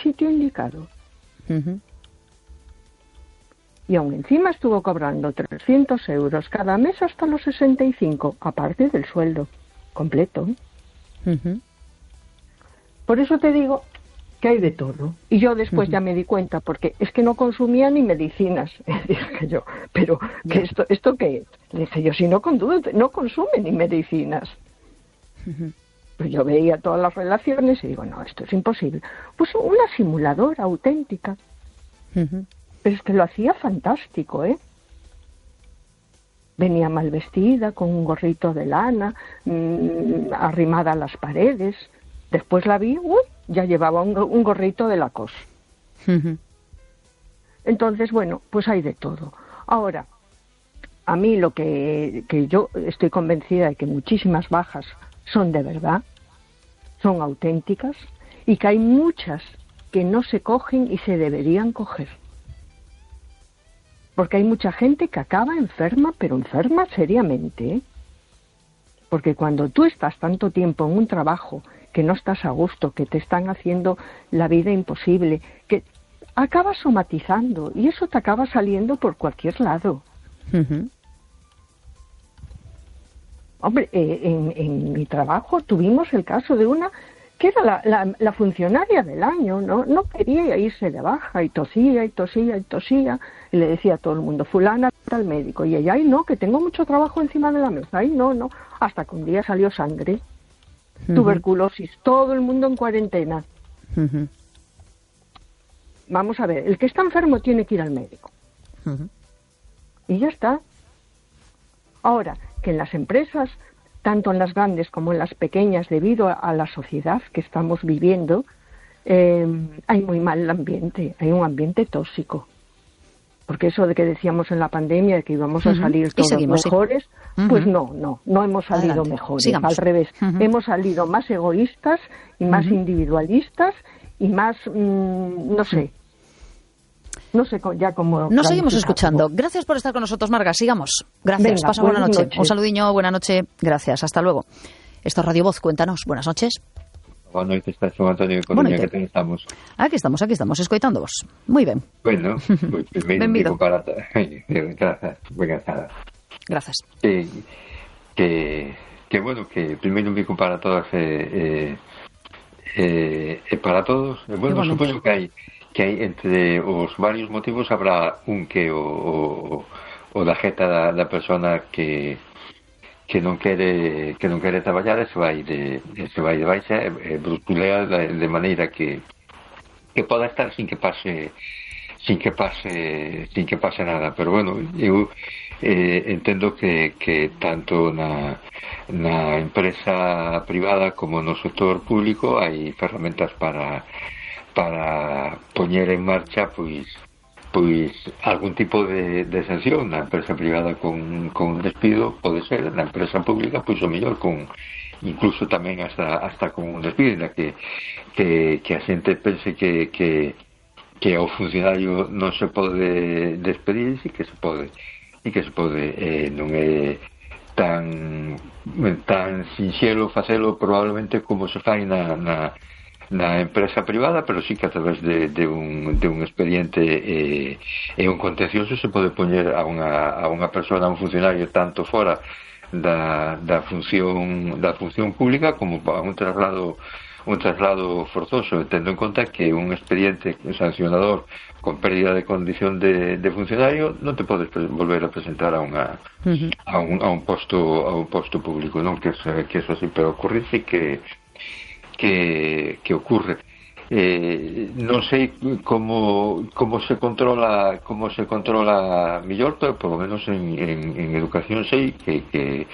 sitio indicado. Uh-huh. Y aún encima estuvo cobrando 300 euros cada mes hasta los 65, aparte del sueldo completo. Uh-huh. Por eso te digo que hay de todo. Y yo después ya me di cuenta, porque es que no consumía ni medicinas. Dije yo, pero ¿qué ¿esto qué es? Le dije yo, si no consume ni medicinas. Uh-huh. Pues yo veía todas las relaciones y digo, no, esto es imposible. Pues una simuladora auténtica. Uh-huh. Pero es que lo hacía fantástico, ¿eh? Venía mal vestida, con un gorrito de lana, arrimada a las paredes. Después la vi, ya llevaba un gorrito de Lacoste. Uh-huh. Entonces, bueno, pues hay de todo. Ahora, a mí lo que yo estoy convencida de que muchísimas bajas son de verdad, son auténticas, y que hay muchas que no se cogen y se deberían coger. Porque hay mucha gente que acaba enferma, pero enferma seriamente, ¿eh? Porque cuando tú estás tanto tiempo en un trabajo que no estás a gusto, que te están haciendo la vida imposible, que acabas somatizando y eso te acaba saliendo por cualquier lado. Uh-huh. Hombre, en mi trabajo tuvimos el caso de una que era la funcionaria del año, no quería irse de baja y tosía y tosía y tosía, y le decía a todo el mundo, fulana al médico, y ella, ay no, que tengo mucho trabajo encima de la mesa, ay no, hasta que un día salió sangre, tuberculosis, todo el mundo en cuarentena. Uh-huh. Vamos a ver, el que está enfermo tiene que ir al médico. Uh-huh. Y ya está. Ahora, que en las empresas, tanto en las grandes como en las pequeñas, debido a la sociedad que estamos viviendo, hay muy mal ambiente, hay un ambiente tóxico. Porque eso de que decíamos en la pandemia, de que íbamos a salir todos mejores, pues no hemos salido Adelante. mejores, Sigamos. al revés. Hemos salido más egoístas y más individualistas y más, no sé ya cómo... Nos seguimos escuchando. Gracias por estar con nosotros, Marga. Sigamos. Gracias. Venga, Pasa buena noche. noches. Un saludiño, buena noche. Gracias. Hasta luego. Esto es Radio Voz. Cuéntanos. Buenas noches. Boa noite, está Son Antonio de Coruña, que estamos. Aquí estamos, escoitándoos. Moi ben. Bueno, pues primeiro un pico para... Grazas, Gracias. Que bueno, que primeiro un pico para todas para todos. Bueno, supoño que hai entre os varios motivos habrá un que o da jeta da persona que non quere traballar e se vai de baixa e brusculea de maneira que poda estar sin que pase nada, pero bueno, eu entendo que tanto na empresa privada como no sector público hai ferramentas para poñer en marcha pois algún tipo de sanción. Na empresa privada con despido pode ser, na empresa pública pois o mellor con incluso tamén hasta con un despido, na que a xente pense que ao funcionario non se pode despedir, e que se pode non é tan sinxelo facelo probablemente como se fai na empresa privada, pero sí que a través de un expediente e un contencioso se pode poñer a unha persona, a un funcionario, tanto fora da función pública como a un traslado forzoso, tendo en conta que un expediente sancionador con pérdida de condición de funcionario non te podes volver a presentar a un posto público, non que eso sí, pero ocurre sí que ocurre. Non sei como se controla mellor, pero por lo menos en educación sei que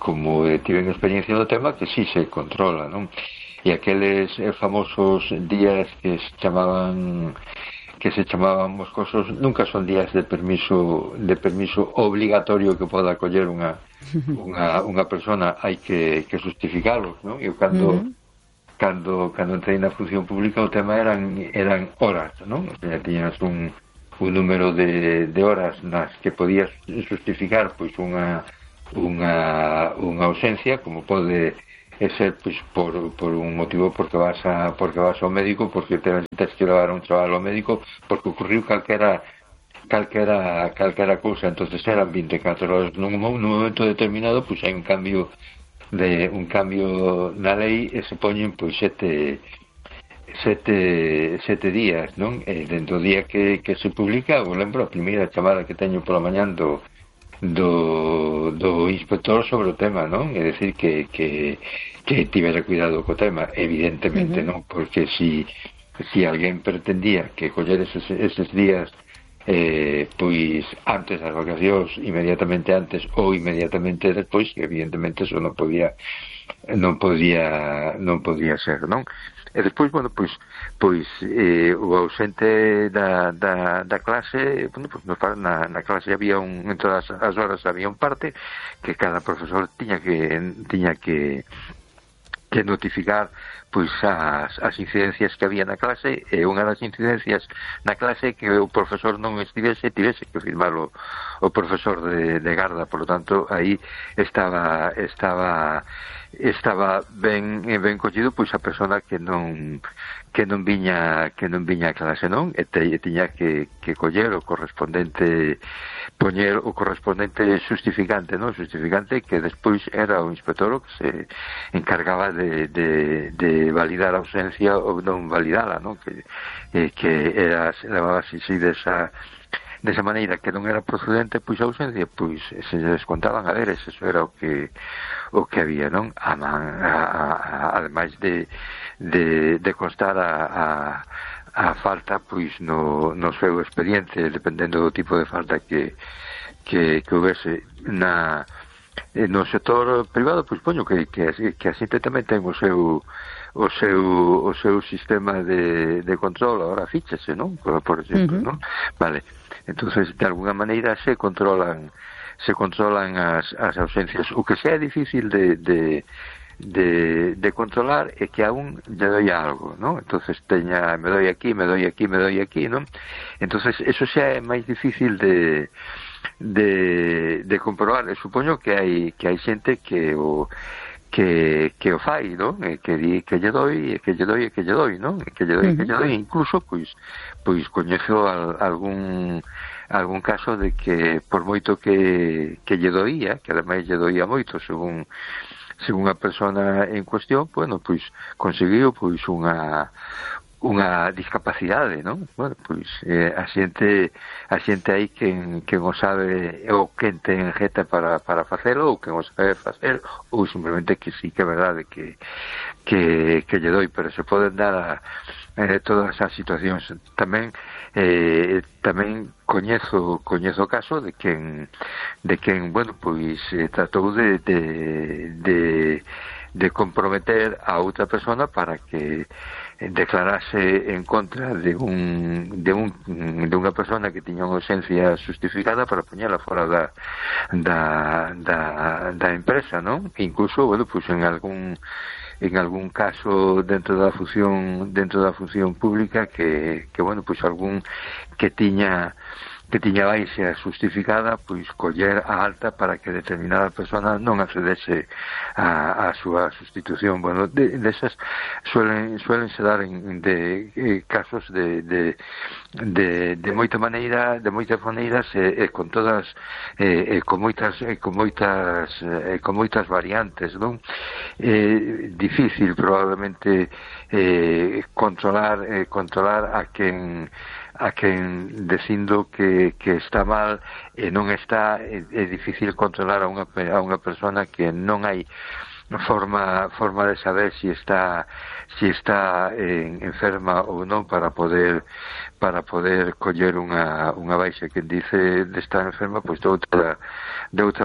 como tiven experiencia no tema, que sí se controla, non? E aqueles famosos días que se chamaban moscosos nunca son días de permiso obligatorio que poda coller unha persona, hai que justificarlo, non? Eu cando entrei na función pública o tema eran horas, non? O sea, tiñas un número de horas nas que podías justificar pois unha ausencia, como pode ser pois, por un motivo porque vas ao médico, porque tens que levar un chaval ao médico, porque ocurriu calquera cousa. Entonces eran 24 horas nun momento determinado, pois hai un cambio na lei e se poñen pois sete días, non? E dentro do día que se publica, eu lembro a primeira chamada que teño pola mañán do inspector sobre o tema, non? É dicir que tivera cuidado co tema, evidentemente, non? Porque si alguén pretendía que coller eses días pois antes das vacacións, inmediatamente antes ou inmediatamente despois, evidentemente eso non podía ser, non? E despois, bueno, pois o ausente da clase, bueno, pois na clase había en todas as horas había un parte que cada profesor tiña que notificar pois as incidencias que había na clase, e unha das incidencias na clase que o profesor non tivese que firmalo o profesor de garda. Por lo tanto, aí estaba ben collido pois a persona que non viña a clase, non? E tiña que coller o correspondente, poñer o correspondente justificante, non? Justificante que despois era o inspector o que se encargaba de validar a ausencia ou non validala, non? Que levaba así desa maneira que non era procedente, pois a ausencia, pois se descontaban a ver, eso era o que había, non? Ademais de constar a falta, pois no seu expediente, dependendo do tipo de falta que houvese no sector privado, pois poño que a xente tamén ten o seu sistema de control, agora fíchase, non? Por exemplo, non? Vale. Entonces, de alguna maneira se controlan as ausencias. O que sea difícil de controlar é que a un lle doi algo, non? Entonces me doi aquí, non? Entonces, eso xa é máis difícil de comprobar. Supoño que hai xente que o fai, non? Que di que lle doi, non? Que lle doi, incluso pois coñezo algún caso de que por moito que lle doía, que ademais lle doía moito según a persona en cuestión, bueno, pois conseguiu pois unha discapacidade, non? Bueno, pois a xente aí quen o sabe ou quen ten jeta para facelo, ou quen o sabe facer, ou simplemente que sí que é verdade que lle doi, pero se poden dar todas as situacións. Tamén coñezo o caso de quen bueno, pois tratou de comprometer a outra persona para que declarase en contra de unha persona que tiña unha ausencia justificada para poñela fora da empresa, non? Incluso, bueno, pues en algún caso dentro da función pública que bueno, pues algún que tiña baixa justificada, pois coller a alta para que determinada persona non accedese a súa sustitución. Bueno, desas suelen se dar de casos de moitas maneiras e con todas con moitas variantes, non? Difícil probablemente controlar a quen dicindo que está mal e non está. É difícil controlar a unha persona que non hai forma de saber si está enferma ou non para poder coller unha baixa. Quen dice de estar enferma, pois de outra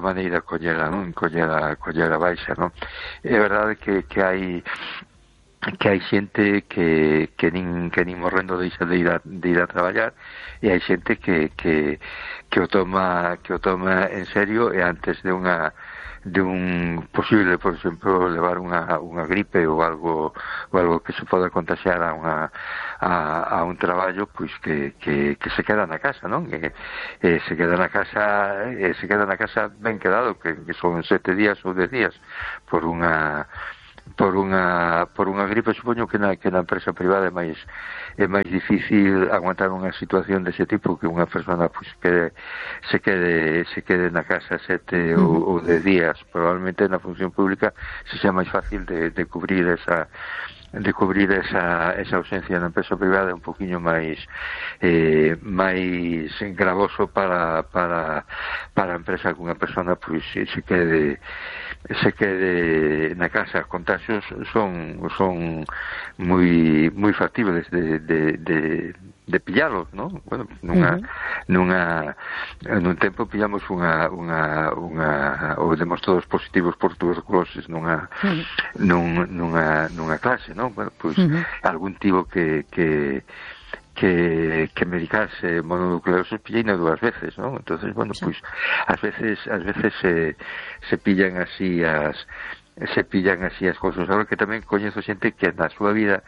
maneira coller a baixa, non? É verdade que hai xente que nin morrendo deixa de ir a traballar, e hai xente que o toma en serio, e antes de un posible, por exemplo, levar unha gripe ou algo que se poda contagiar a un traballo, pois que se queda na casa, non? Se queda na casa ben quedado, que son 7 días ou 10 días por unha por unha gripe. Supoño que na empresa privada é máis difícil aguantar unha situación dese tipo, que unha persona pues, se quede na casa 7 ou 10 días. Probablemente na función pública se sea máis fácil de cubrir esa ausencia. Na empresa privada é un poquinho máis gravoso para a empresa, que unha persona pues, se quede na casa. Contagios son moi factibles de pillalos, ¿no? Bueno, nun tempo pillamos ou demos todos positivos por tuberculosis nunha clase, ¿no? Bueno, pues algún tivo que medicarse mononucleosis pilleina 2 veces, ¿no? Entonces, bueno, pues ás veces se pillan así as cousas. Agora que tamén coñezo xente que na súa vida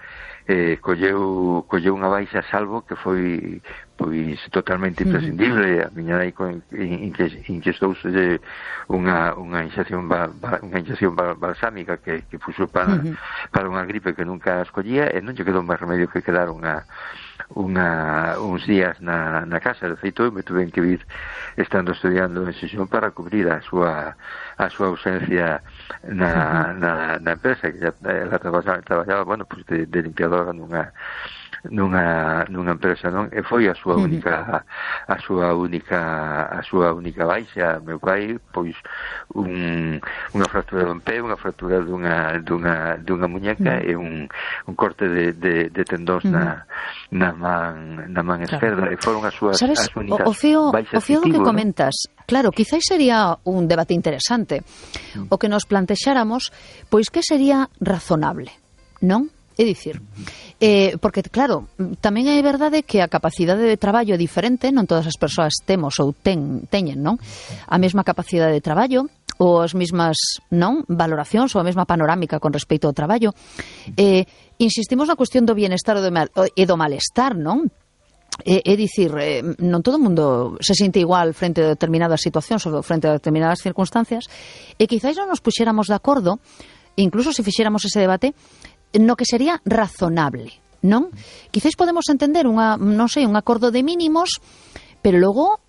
colleu unha baixa salvo, que foi pois totalmente imprescindible. A miña nai inquestouse unha inxección balsámica que puxo para unha gripe que nunca escollía, e non lle quedou máis remedio que quedar uns días na casa. De feito, me tuve que vir estando estudiando en Xixón para cubrir a súa ausencia na empresa, que ela traballaba, bueno, pues de limpiadora nunha empresa, non? E foi a súa única baixa. Meu pai, pois unha fractura dun pé, unha fractura dunha muñeca e un corte de tendóns na man esquerda, e foron as súas únicas baixas. O fío do que comentas, claro, quizáis sería un debate interesante o que nos plantexáramos, pois que sería razonable, non? É dicir, porque claro, tamén é verdade que a capacidade de traballo é diferente, non todas as persoas temos ou teñen, non? A mesma capacidade de traballo ou as mesmas, non, valoracións ou a mesma panorámica con respecto ao traballo. Insistimos na cuestión do bienestar e do malestar, non? É dicir, non todo o mundo se sente igual frente a determinadas situacións ou frente a determinadas circunstancias, e quizáis non nos puxéramos de acordo, incluso se fixéramos ese debate, no que sería razonable, non? Quizáis podemos entender un acordo de mínimos, pero logo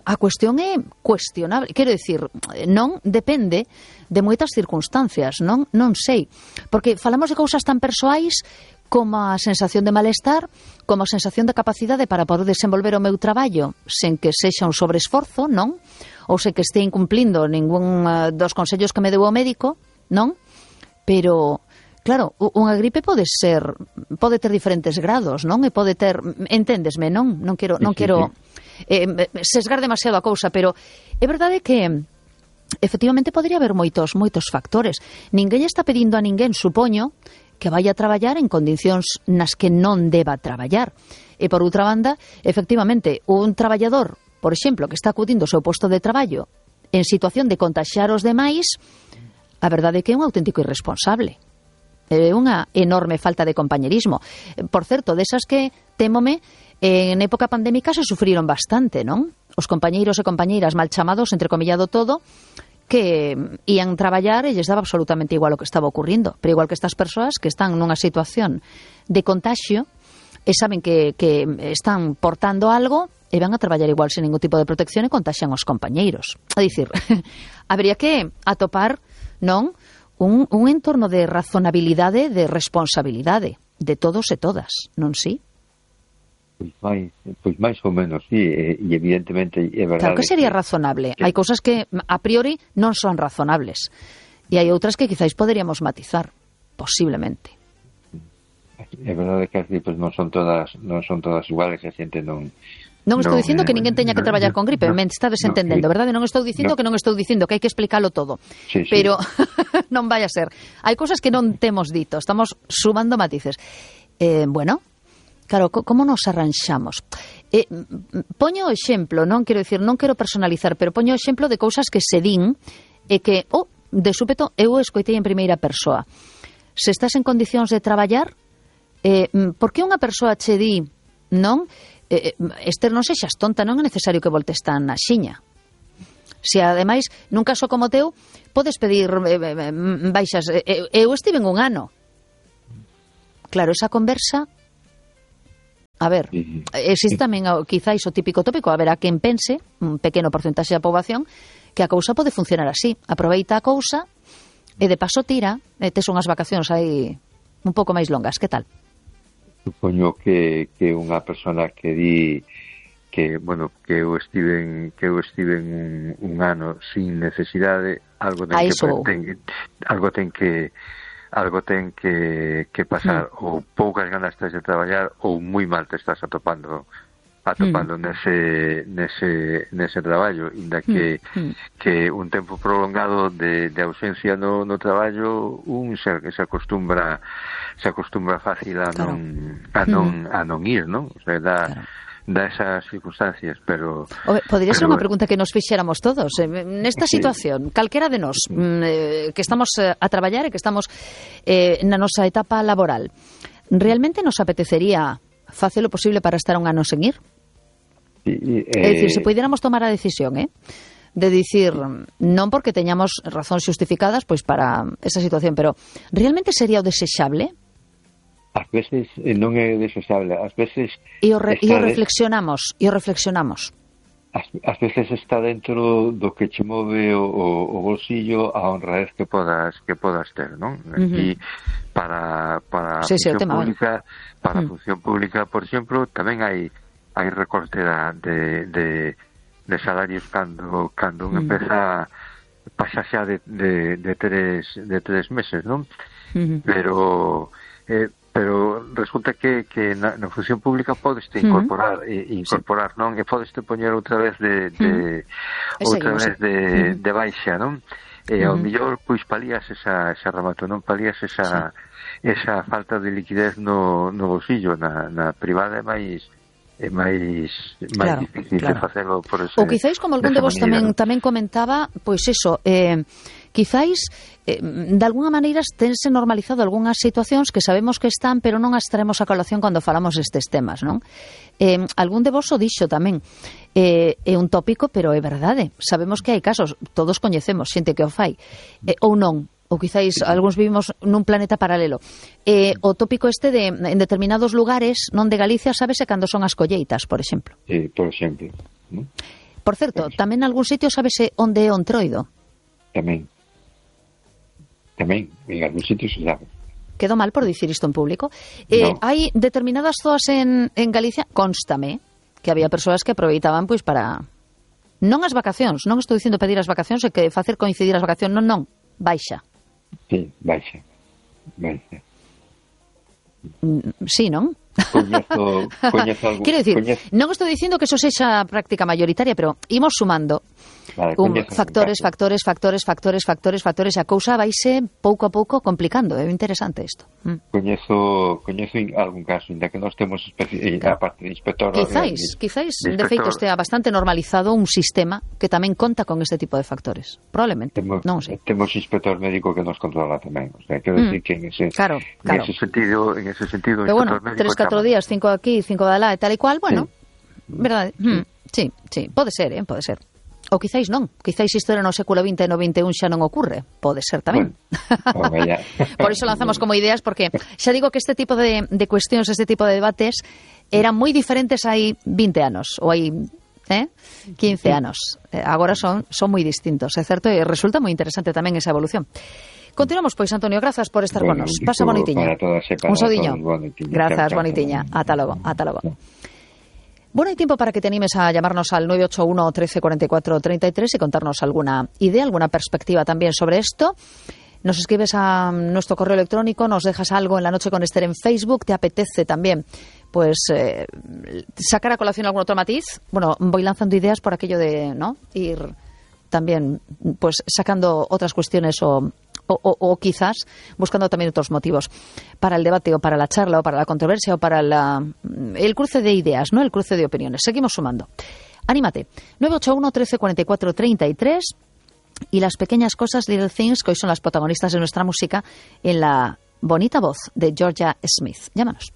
a cuestión é cuestionable. Quero dicir, non depende de moitas circunstancias, non sei, porque falamos de cousas tan persoais como a sensación de malestar, como a sensación de capacidade para poder desenvolver o meu traballo sen que sexa un sobreesforzo, non? Ou sen que este incumplindo ningún dos consellos que me deu o médico, non? Pero claro, unha gripe pode ter diferentes grados, non? E pode ter, enténdesme, non? Non quero sesgar demasiado a cousa, pero é verdade que efectivamente podría haber moitos factores. Ninguén está pedindo a ninguén, supoño, que vaya a traballar en condicións nas que non deba traballar. E por outra banda, efectivamente, un traballador, por exemplo, que está acudindo ao seu posto de traballo en situación de contaxiar os demais, a verdade é que é un auténtico irresponsable. É unha enorme falta de compañerismo. Por certo, desas que, témome, en época pandémica se sufriron bastante, non? Os compañeiros e compañeiras mal chamados, entrecomillado todo, que ían traballar e lles daba absolutamente igual o que estaba ocurrindo. Pero igual que estas persoas que están nunha situación de contagio e saben que están portando algo e van a traballar igual sen ningún tipo de protección e contaxian os compañeiros. É dicir, habría que atopar, non, un entorno de razonabilidade, de responsabilidade de todos e todas, non si? Pois máis ou menos, sí, e evidentemente é verdade. Claro que sería razonable. Hai cousas que a priori non son razonables e hai outras que quizáis poderíamos matizar, posiblemente. É verdade que as gripes non son todas iguales, a xente non... Non estou dicindo que ninguén teña que traballar con gripe, me estades entendendo, verdade? Non estou dicindo que non estou dicindo que hai que explicalo todo, pero non vai a ser. Hai cousas que non temos dito, estamos sumando matices. Bueno, claro, como nos arranxamos? Poño o exemplo, non quero personalizar, pero poño o exemplo de cousas que se din e que, de súpeto, eu escoitei en primeira persoa. Se estás en condicións de traballar, por que unha persoa che di, non? Esther, non sexas tonta, non é necesario que voltes tan na xiña. Se ademais, nun caso como teu, podes pedir baixas. Eu estive en un ano. Claro, esa conversa... A ver, existe tamén quizáis o típico tópico, haberá quen pense, un pequeno porcentaxe da poboación, que a cousa pode funcionar así. Aproveita a cousa e de paso tira, e tes unhas vacacións aí un pouco máis longas. Que tal? Supoño que unha persona que di que, bueno, que eu estive en un ano sin necesidade, algo ten que pasar, ou poucas ganas tes de traballar, ou moi mal te estás atopando nese traballo, inda que un tempo prolongado de ausencia no traballo se acostumbra fácil a non ir, non? O sea, da esas circunstancias, pero... Podría ser unha pregunta que nos fixéramos todos. Nesta situación, calquera de nós, que estamos a traballar e que estamos na nosa etapa laboral, realmente nos apetecería facer o posible para estar un ano sen ir? É dicir, se puidéramos tomar a decisión, de dicir, non porque teñamos razóns xustificadas pois para esa situación, pero realmente sería o desexable? Ás veces non é desexable, ás veces... E o reflexionamos. Ás veces está dentro do que che move o bolsillo a honradez que podas ter, non? Aquí, para a función pública, función pública, por exemplo, tamén hai recorte de salarios cando un empeza pasa xa de 3 meses, non? Pero resulta que na función pública podeste incorporar, non? E podeste poñer outra vez de baixa, non? E ao mellor pois palías esa remato, non palías esa falta de liquidez no bolsillo. Na privada é máis difícil de facelo por ese... Ou quizáis, como algún de vos tamén comentaba, pois eso, quizáis de alguna maneira tense normalizado algunhas situacións que sabemos que están, pero non as traemos a colación cando falamos destes temas, non? Algún de vos o dixo tamén, é un tópico, pero é verdade. Sabemos que hai casos, todos coñecemos xente que o fai, ou non, ou quizáis algúns vivimos nun planeta paralelo. O tópico este de en determinados lugares, non de Galicia, sábese cando son as colleitas, por exemplo. Por exemplo. Por certo, tamén en algún sitio sábese onde é o Entroido. Tamén, en algún sitio se sabe. Quedo mal por dicir isto en público. Hai determinadas zoas en Galicia, constame, que había persoas que aproveitaban pois para... Non as vacacións, non estou dicindo pedir as vacacións e que facer coincidir as vacacións, non, baixa. Sí, baixa. Sí, non? Coñezo algo. Quero dicir, non estou dicindo que eso sexa práctica mayoritaria, pero imos sumando factores, e a cousa vaise pouco a pouco complicando. É interesante isto. Coñezo algún caso, inda que nós temos a parte de inspector... Quizáis, de feito, estea bastante normalizado un sistema que tamén conta con este tipo de factores. Probablemente, non sei. Temos inspector médico que nos controla tamén. O sea, quero dicir que en ese sentido, pero bueno, 3-4 días, 5 aquí, 5 de lá e tal e cual, bueno, verdade? Sí, pode ser, pode ser. Ou quizáis non, quizáis isto era no século XX e no XXI xa non ocurre, pode ser tamén. Por iso lanzamos como ideas, porque xa digo que este tipo de cuestións, este tipo de debates eran moi diferentes hai 20 anos, ou hai 15 anos. Agora son moi distintos, é certo, e resulta moi interesante tamén esa evolución. Continuamos, pois, Antonio, grazas por estar con nos. Pasa bonitiña. Un sodiño. Grazas, bonitiña. Ata logo. Bueno, hay tiempo para que te animes a llamarnos al 981 13 44 33 y contarnos alguna idea, alguna perspectiva también sobre esto. Nos escribes a nuestro correo electrónico, nos dejas algo en La Noche con Esther en Facebook. ¿Te apetece también pues sacar a colación algún otro matiz? Bueno, voy lanzando ideas por aquello de ir también pues sacando otras cuestiones o quizás buscando también otros motivos para el debate o para la charla o para la controversia o para el cruce de ideas, ¿no? El cruce de opiniones. Seguimos sumando. Anímate. 981 13 44 33 y las pequeñas cosas, Little Things, que hoy son las protagonistas de nuestra música en la bonita voz de Georgia Smith. Llámanos.